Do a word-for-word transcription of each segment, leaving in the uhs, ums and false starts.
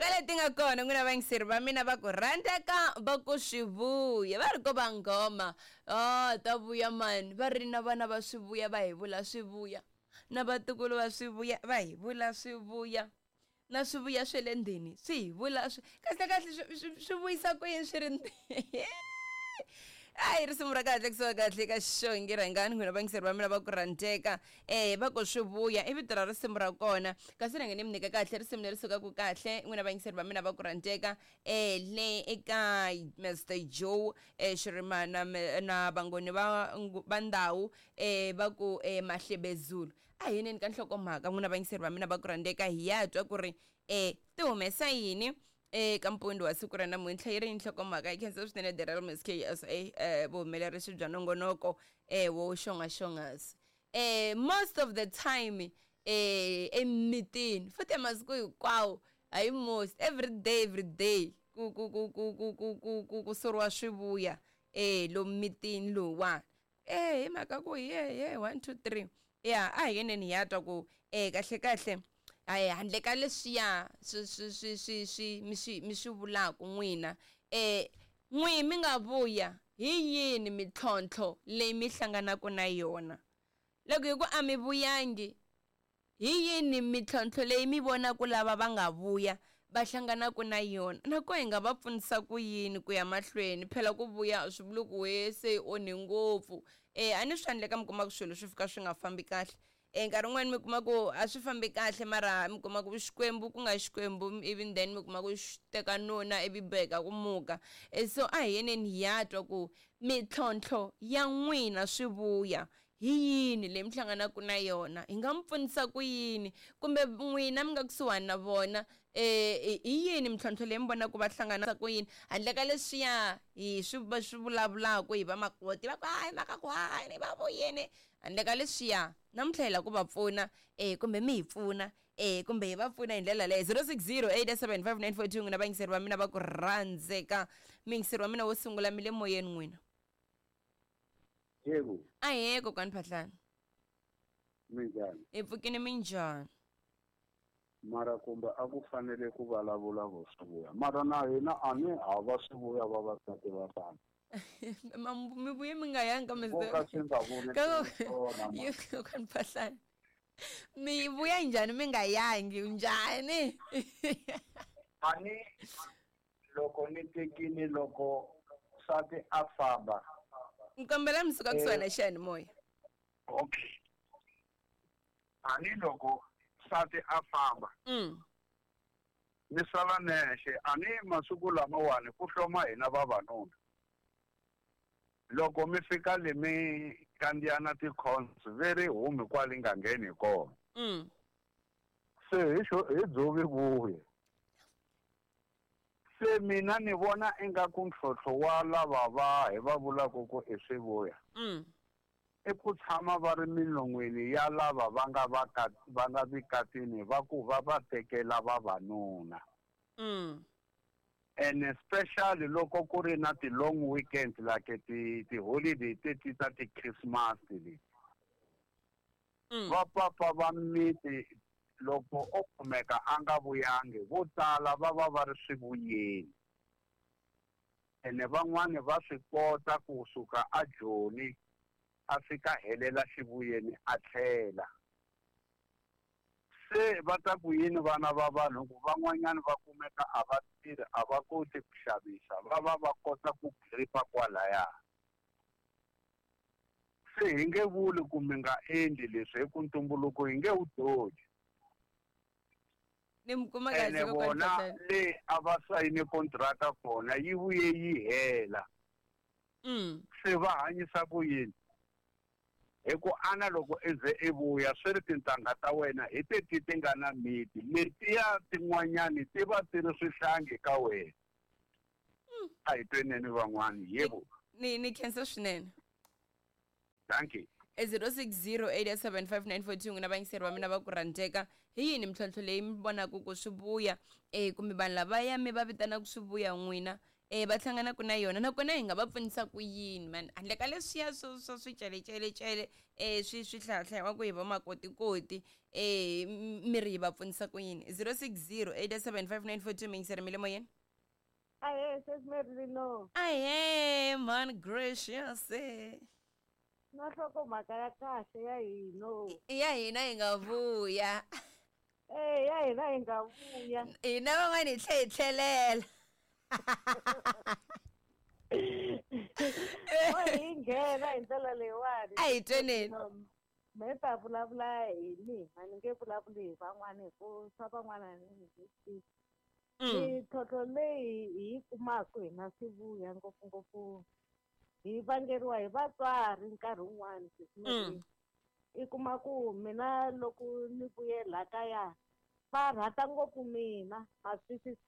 leti nga kona n'wina vayingiseri va mina va ku rhandzeka va ku swi vuya va ri ko va nghoma oh ta vuya mani va ri na vana va swi vuya va hi vula swi vuya na vatukulu va swi vuya va hi vula swi vuya na swi vuya swe le ndzeni swi hi vula swi kahle kahle swi swi- swi vuyisa ku yini swi ri ndzeni hayi risimu ra kahle kusuka kahle ka xongi rhangani n'wina vayingiseri va mina va ku rhandzeka eh va ku swi vuya i vito ra risimu ra kona kasi rhange ni mi nyika kahle risimu leri sukaka kahle n'wina vayingiseri va mina va ku rhandzeka eh le eka Mr Joe eh Xirimana na na vangoni va va ndhawu eh va ku eh Mahlebezulu a hi yineni ka nhlokomhaka n'wina vayingiseri va mina va ku rhandzeka hi ya twa ku ri eh ti humesa yini eka mpundi wa siku ra namuntlha yi ri nhlokomhaka yi khensa swinene the real Miss K S A eh vuhumelerisi bya nongonoko eh wo xongaxongasi eh most of the time eh emitini futhi masiku hinkwawo hayi most every day every day ku ku ku ku ku ku ku ku ku soriwa swivuya eh lomu mitini lowuwani eh hi mhaka ku ye ye one two three ya a hi yeneni hi ya twa ku eh kahle kahle hayi handle ka leswiya swi swi swi swi swi mi swi mi swi vulaka n'wina eh n'wi mi nga vuya hi yini mintlhontlho leyi mi hlanganaka na yona loko hi ku a mi vuyangi hi yini mintlhontlho leyi mi vonaka lava va nga vuya va hlanganaka na yona nako hi nga va pfunisa ku yini ku ya mahlweni phela ku vuya swi vuli ku we se yi onhe ngopfu eh a ni swi handle ka mi kuma ku swilo swi fika swi nga fambi kahle eh nkarhi wun'wani mi kuma ku a swi fambi kahle mara mi kuma ku xikwembu ku nga xikwembu even then mi kuma ku xi teka nuna ivi boheka ku muka eh so a hi yeneni hi ya twa ku mintlhontlho ya n'wina swi vuya hi yini leyi mi hlanganaka na yona hi nga mi pfunisa ku yini kumbe n'wina mi nga kusuhani na vona eh hi yini mintlhontlho leyi mi vonaka va hlangana ku yini handle ka leswiya hi swi va swi vulavulaka hi vamakoti va ku hayi mhaka ku hayi va vuyeni handle ka leswiya namuntlha hi lava ku va pfuna eh kumbe mi hi pfuna eh kumbe hi va pfuna hi ndlela leyo zero six zero eight seven five nine four two n'wina vayingiseri va mina va ku rhandzeka muyingiseri wa mina wo sungula mi le moyeni n'wina Yebo, ahee kokwani Phahlane minjhani? hi pfukini minjhani Mara kumbe a ku fanele ku vulavula vo swivuya. Mara na hina a ni hava swivuya vavasati va tano. Ma- mi vuye mi nga yangi ka Vo ka swi nga vuli Ka- swona, ma. kokwani Phahlane mi vuya njhani mi nga yangi njhani A ni loko ni tekini loko nsati a famba. nkombela mi suka kusuhani na xiyanimoya Okay. A ni loko nsati a famba mm ni sala nexe a ni masiku lamawani ku hloma hina vavanuna. Loko mi fika le mi kandziya na ti-cons ve ri humi kwale nga ngheni kona. mm Se hi xo hi dzovi vuye. Se mina ni vona ingaku ntlhontlho wa lava va hi va vulaka ku i swivuya mm i ku tshama va ri milon'weni ya lava va nga va ka va nga vikatini va ku va va tekela vavanuna. mm And especially loko ku ri na ti-long weekend like ti ti-holiday teti ta ti-Christmas leti. mm Va papa va miti loko o kumeka a nga vuyangi vo tala va va va ri swivuyeni. Ene van'wani va swi kota kusuka a Joni a fika helela xivuyeni a tlhela. Se va ta ku yini vana va vanhu ku van'wanyani va kumeka a va tirhi a va koti ku xavisa va va va kota ku gripa kwalaya. Se hi nge vuli ku mi nga endli leswi hi ku ntumbuluko hi nge wu doji. Ni mi kuma kahle Ene kokwani vona Phahlane le a va sayine kontraka kona yi vuye yi hela. mm Se va hanyisa ku yini? Hi ku ana loko i ze i vuya swi ri tintangha ta wena hi teti ti nga na miti letiya tin'wanyani ti va ti ri swihlangi ka wena. A hi tweneni van'wani yebo. ni ni khensa swinene Thank you. e zero six zero eight seven five nine four two n'wina vayingiseri va mina va ku rhandzeka hi yini mintlhontlho leyi mi vonaka ku swi vuya eh kumbe vanhu lavaya mi va vitanaka swi vuya n'wina eh va hlanganaka na yona nakona hi nga va pfunisa ku yini man handle ka leswiya swo swa swicelecele eh swi swi hlayahlayiwaka hi vamakotikoti Eh mi ri hi va pfunisa ku yini? zero six zero eight seven five nine four two mingiseri mi le moyeni. Ahe sesi Merlino. Ahe man gracious. Na nhlokomhaka ya kahle ya hina. Ya hina hi nga vuya. Eh ya hina hi nga vuya. Hina van'wana hi tlhe hi tlhelela. O hi nghena hi ndlela leyiwani. A hi tweneni. Me ta vulavula hi mina, ni nge vulavuli hi van'wana hi ku swa van'wana ni nge tivi. Mintlhontlho leyi hi yi kumaka hina swivuya ngopfungopfu hi vangeriwa hi vatswari nkarhi wun'wani sesi. I kuma ku mina loko ni vuye la kaya va rhandza ngopfu mina, ma swi twisisa?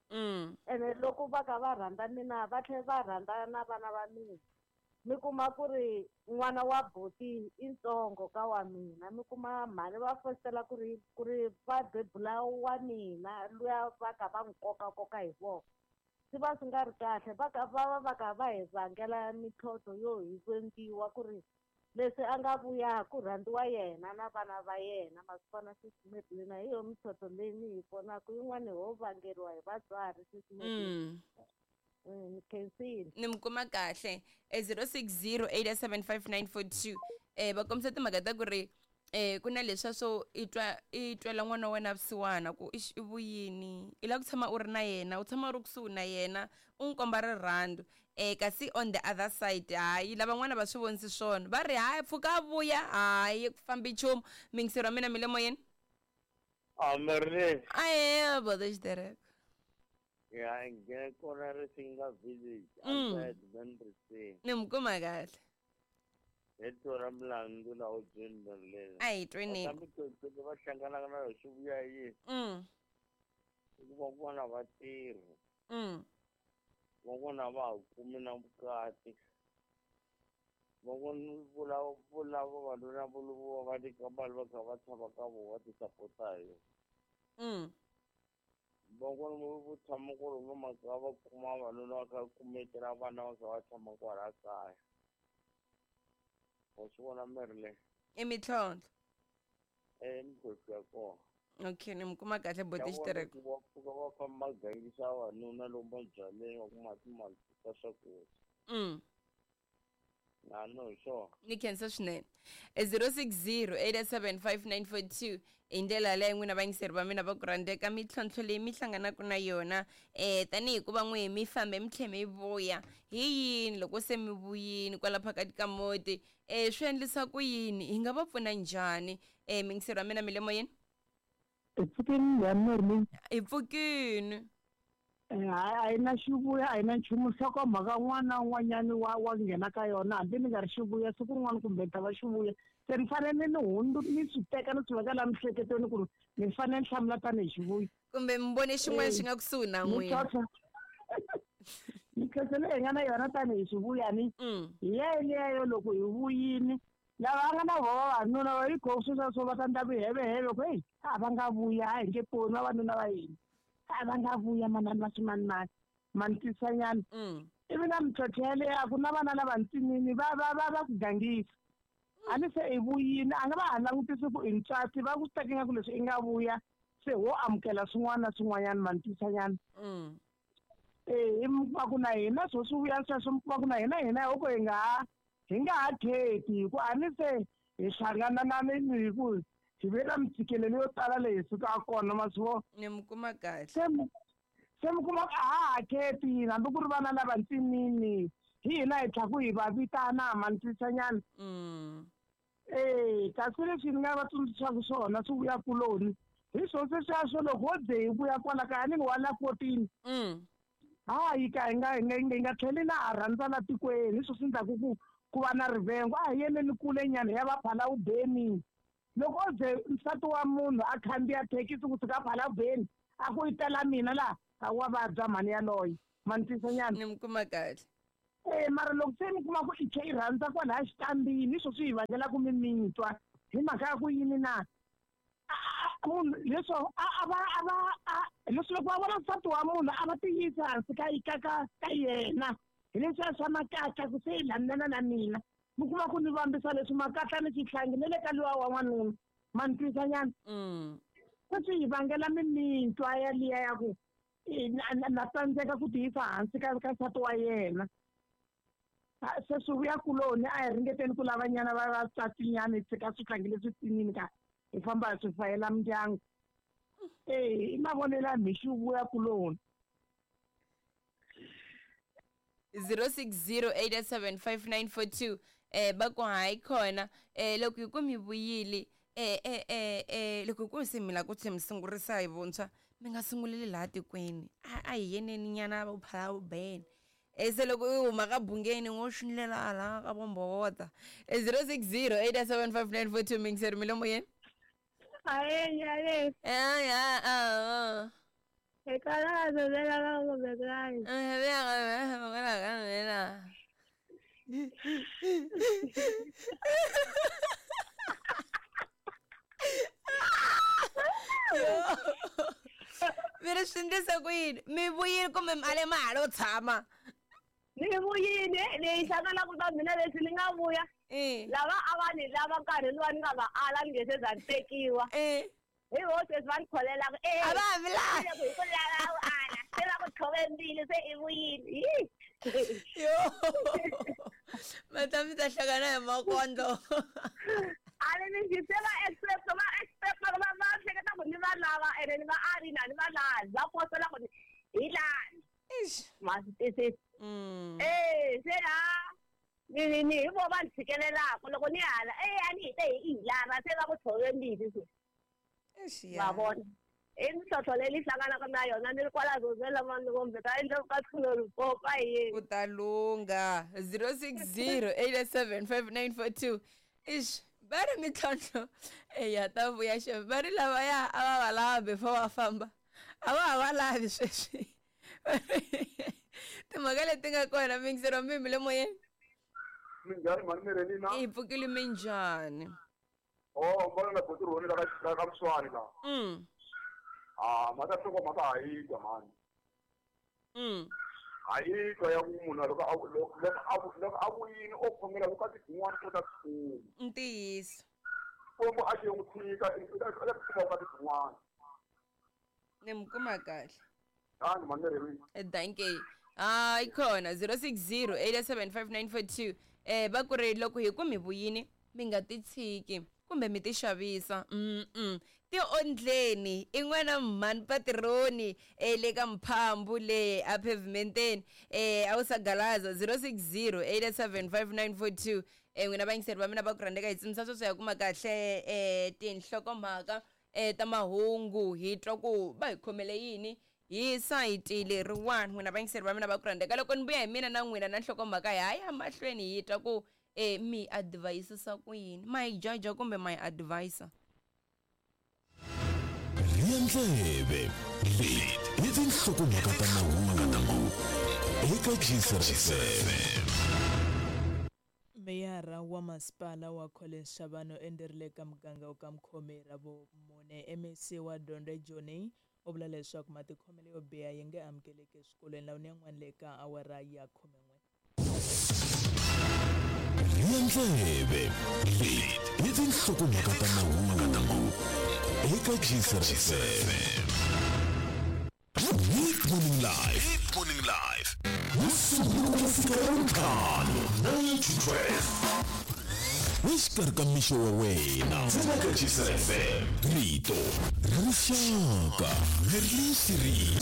Ene loko va kha va rhandza mina va tlhela va rhandza na vana va mina. Mi kuma ku ri n'wana wa buti i ntsongo ka wa mina, mi kuma mhani va fositela ku ri ku ri va bebula wa mina luya va kha va n'wi kokakoka hi voko. Swi va swi nga ri kahle, va ka va va va kha va hi vangela mintlhontlho yo hi vengiwa ku ri leswi a nga vuya ku rhandziwa yena na vana va yena. Ma swi vona sesi Merlina, hi yo mintlhontlho leyi ni yi vonaka. Yin'wani ho vangeriwa hi vatswari sesi Merlina. Ni khensile. Ni mi kuma kahle. zero six zero eight seven five nine four two. Eh va kombisa timhaka ta ku ri eh ku na leswa swo i twa i twela n'wana wa wena vusiwana ku i vuyini, i lava ku tshama u ri na yena, u tshama u ri kusuhi na yena, u n'wi komba rirhandzu. Eh kasi on the other side hayi lavan'wana va swi vonisi swona, va ri hayi pfuka a vuya, hayi ku fambi nchumu. Mingiseri wa mina mi le moyeni. A Merlin. Ahe bodo xitereko. Ya nghena kona Risinga village outside Vendrisi. Ni mi kuma kahle. Hi tora milandzu laha u byeni Merlin. A hi tweni. Kambe mintlhontlho va hlanganaka na yona swi vuya yini? Mm. I ku van'wana va tirhi. Mm. Van'wana va ha kumi na vukati. Van'wana vula vula vavanuna vo va nyika mali va kha va tshama ka vona va ti sapota hi yona. Mm. Van'wana vo tshama ku ri makaya va kuma vavanuna va kha va kumetela vana va kha va tshama kwala kaya. Wa swi vona Merlin? I mintlhontlho. Eh mintlhontlho ya kona. Okay, ni mi kuma kahle boti xitereko. Va pfuka va famba va gangisa vavanuna lomu mabyaleni va kuma timali ta swakudya. Mm. Na no hi swona. Ni khensa swinene. zero six zero eight seven five nine four two hi ndlela yaleyo n'wina vayingiseri va mina va ku rhandzeka mintlhontlho leyi mi hlanganaka na yona eh tanihi ku va n'wi mi fambe mi tlhe mi vuya hi yini loko se mi vuyini kwala phakati ka muti, eh swi endlisa ku yini, hi nga va pfuna njhani? Eh mingiseri wa mina mi le moyeni. Hi pfukini njhani Merlin? Hi pfukini. Hayi a yi na xivuya, a yi na nchumu. Nhlokomhaka un'wana na un'wanyani wa wa nghena ka yona, hambi ni nga ri xivuya siku rin'wana kumbe ni ta va xivuya, se ni fanele ni hundzu ni swi teka ni swi veka laha miehleketweni ku ri ni fanele ni hlamula tanihi xivuya. Kumbe mi vone xin'wana xi nga kusuhi na n'wina. Mintlhontlho leyi hi nga na yona tanihi xivuya ni hi yeleyo loko hi vuyini lava nga na vona vavanuna va yi kho sweswiya swo va ta endla vuheveheve ku heyi a va nga vuya, a hi nge poni vavanuna va hina, a va nga vuya manani va swimanimani mantisanyana. Ivi na mintlhontlho yaleyo a ku na vana lavantsinini va va va va ku gangisa. A ni se i vuyini, a nga va ha langutisi ku i ntswatsi, va ku teka ingaku leswi i nga vuya se ho amukela swin'wana na swin'wanyana mantisanyana. Eh mi kuma ku na hina swo swi vuya sweswo, mi kuma ku na hina hina hoko hi nga ha hi nga ha kheti hi ku a ni se hi hlangana na ni hi ku hi ve na mintshikelelo yo tala leyi sukaka kona ma swi vona. Ni mi kuma kahle. Se mi se mi kuma ku a ha ha kheti hambi ku ri vana lavantsinini hi hina hi tlhaku hi va vitana mantisanyana. Eh kasi leswi ni nga va tsundzuxaka swona swi vuya kuloni hi swo sweswiya swo loko ho ze hi vuya kwala kaya ni wa la fourteen. Hayi ka hi nga hi nga hi nga tlheli na ha rhandza la tikweni, hi swo swi endlaku ku ku va na rivengo. A hi yeleni kule nyana hi ya va Phalawubeni. Loko o ze nsati wa munhu a khandziya thekisi kusuka Phalawubeni a ku yi tela mina laha, a wa vabya mhani yaloye mantisanyana. Ni mi kuma kahle. Eh mara loko se mi kuma ku i tlhe i rhandza kwalaya xitambini, hi swo swi hi vangelaka mimitwa hi mhaka ya ku yini na munhu leswo a a va a va a leswi loko va vona nsati wa munhu a va tiyisa hansi ka ka ka ka yena hi leswiya swa makatla ku se i landzelana na mina. Mi kuma ku ni vambisa leswi makatla ni xihlangi ni le ka luwa wa n'wanuna. Ma ni twisa nyana? Se swi hi vangela mimintwa yaliya ya ku na tsandzeka ku tiyisa hansi ka ka nsati wa yena. Se swi vuya kuloni a hi ringeteni ku lava nyana va vatswatsi-nyana hi tshika swihlangi leswi tsinini ka hi famba hi swi fayela mindyangu. E i mavonelo ya mixi vuya kuloni. zero six zero eight seven five nine four two eh va ku hayi khona eh loko hi ku mi vuyile eh eh eh eh loko ku se mi la ku mi sungurisa hi vuntshwa mi nga sunguleli laha tikweni a hi yeneni nyana va phala vubene eh se loko u huma ka bungeni ngo xinlela la ka vombowota eh zero six zero eight seven five nine four two mingiseri milomo yeni aye aye eh ya ah Mi ri swi endlisa ku yini? Mi vuyile kumbe mi ale ma ha lo tshama? Ni vuyile ni hlanganaka ta mina leswi ni nga vuya. Lava a va ni lava nkarhi luwa ni nga va ala ni nge se za ni tekiwa. Hi vo sweswi va ni kholelaka a va ha vilani hi ku lava u ala se va ku tlhove mbilu se i vuyile. Yo ma ta mi ta hlangana hi makondlo. A ni ni se va expect va expect va va hleketa ku ni va lava ene ni va ali na ni va lavi va posela ku hi lani. Eish ma swi twisisa. Eh se la ni ni ni hi vo va ni tshikelelaka loko ni hala eh a ni hi te hi lava se va ku tlhove mbilu se. Va vona i mintlhontlho leyi ni hlanganaka na yona ni ri kwala Zozela mani ka endla ka tlhelo Limpopo yini. Ku ta lungha zero six zero eight seven five nine four two ish va ri mintlhontlho eya ta vuya xe va ri lavaya a va va lava before va famba a va ha va lavi sweswi timhaka leti nga kona mingisero mimi le moyeni. Minjhani mhani Mirelina? Hi pfukile minjhani? Oh, mbona na botirhoni la ka ka Mswani la. Mm. Ah, mata hloko mata ha yi twa mani. Mm. Ha yi twa ya ku munhu loko a loko a loko a vuyini o khongela vukati byin'wana u ta kuma. Ntiyiso. Xikwembu a xi n'wi tshika i ta kuma vukati byin'wana. Ni mi kuma kahle. Tani mhani Mirelina. Dankie. Ah, yi khona zero six zero eight seven five nine four two eh va ku ri loko hi ku mi vuyini mi nga ti tshiki kumbe mi ti xavisa mm ti ondleni i n'wana mhani patironi le ka mphambu le a pavementeni eh a wu sagalaza zero six zero eight seven five nine four two eh n'wina vayingiseri va mina va ku rhandzeka hi tsimisa sweswo ya kuma kahle eh tinhlokomhaka eh ta mahungu hi twa ku va hi khomele yini hi sayiti leriwani n'wina vayingiseri va mina va ku rhandzeka loko ni vuya hi mina na n'wina na nhlokomhaka hi haya mahlweni hi twa ku eh mi advisisa ku yini ma hi jaja kumbe ma hi advisor. Ndleve leti i tinhlokomhaka ta mahungu eka Gcr F M. Meyara wa masipala wa Collins Chabane enderile ka muganga wa ka Mkhomeri ra vumune M E C wa Dyondzo Joni u vula leswaku matikhomelo yo biha yi nge amukeleki eswikolweni laha yan'wana le ka awara ya khumen'we. Ndleve leti i tinhlokomhaka ta mahungu eka Gcr F M. Hit Morning Live. Hit Morning Live. nine to twelve. Exikarhi ka mixo wa wena eka Gcr F M. Rito ra rixaka leri ri